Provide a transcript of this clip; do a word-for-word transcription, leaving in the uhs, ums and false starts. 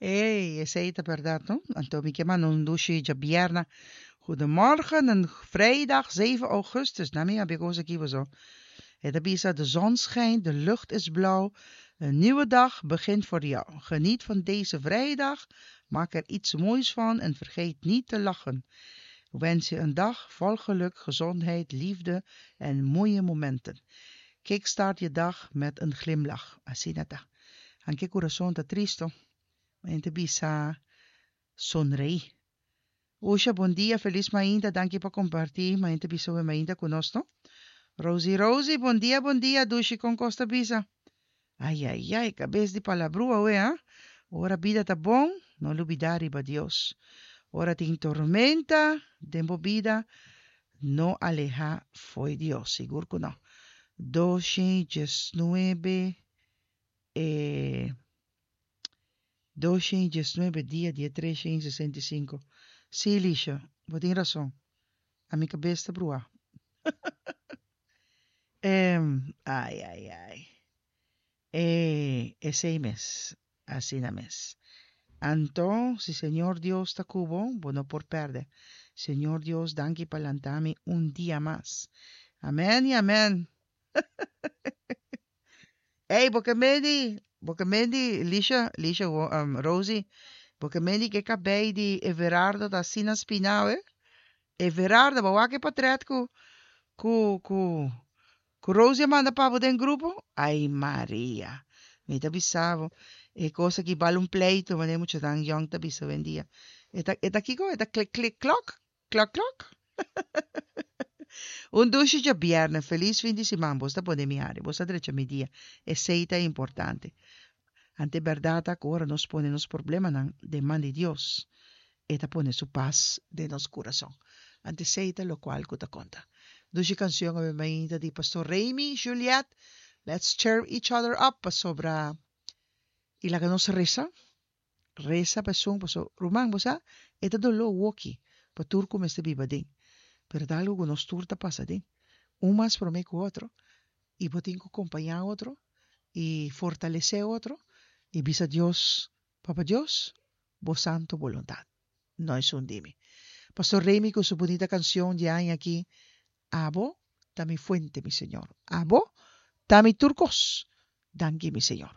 Ey, esei ta bèrdat, no? Anto mi ke manda un dushi djabièrnè. Goedemorgen, een vrijdag zeven augustus. Na mi a kos aki zo. E ta bisa, de zon schijnt, de lucht is blauw. Een nieuwe dag begint voor jou. Geniet van deze vrijdag, maak er iets moois van en vergeet niet te lachen. Ik wens je een dag vol geluk, gezondheid, liefde en mooie momenten. Kickstart je dag met een glimlach. Asina ta. Aunke kurason ta tristu, ma ta bisa sonreí. Usha, bon dia, felis mainta, danki pa kompartí. Mainta bisa mainta ku nos, no? Rosie, Rosie, bon dia, bon dia, dushi kon kos ta bisa. Ai, ai, ai, kabes di palabrua, we, ha? Ora bida ta bon, no lubidá riba Dios. Ora tin tormenta, den bo bida, no alehá fo'i Dios, sigur ku no. Dos nuebe, eh, dos nuebe dia, dia tres sesenta i sinku. Sí, Lisha, bo tin rason. Ami kabes ta brua. Um, ai, ai, ai. Eh, esei mes, asina mes. Anto, si Señor Dios ta ku bo, bo no por pèrdè. Señor Dios, danki pa lanta mi un dia mas. Amèn i amèn. Hey, boke medi, boke medi, Lisha, Lisha, um, Rosie, boke medi ke kabei di Everardo da Sina Spinau, eh? Everardo, bo a wak e portrèt ku, ku, ku, ku Rosie a manda pa bo den grupo? Ai, Maria. Mi ta bisa bo. E kos aki bal un pleitu, ma mucha dan yong ta bisa awendia. E ta, e ta kiko? E ta klik, klik, klok? Klok, klok? Un dushi djabièrnè, felis fin di siman, bo ta pone mi hari, bo ta drecha mi dia. Esei ta importante. Anto bèrdat ku ora nos pone nos problemanan den man di Dios. E ta pone su pas den nos kurason. Anto esei ta lokual ku ta konta. Dushi kanshon awe mainta di Pastor Remy Juliet. Let's cheer each other up sobra i laga nos resa. Resa pa esun paso ruman bo sa e ta doló woki pa tur ku mester biba den. Pero ta algu ku nos tur ta pasa den. Un mas promé ku otro i bo tin ku kompañá otro i fortalesé otro i bisa Dios, Papa Dios, bo santu boluntat. No esun di mi. Pastor Remy ku su bunita kanshon di aña aki, Abo, ta mi fuente, mi Señor. Abo, ta mi tur kos. Danki, mi Señor.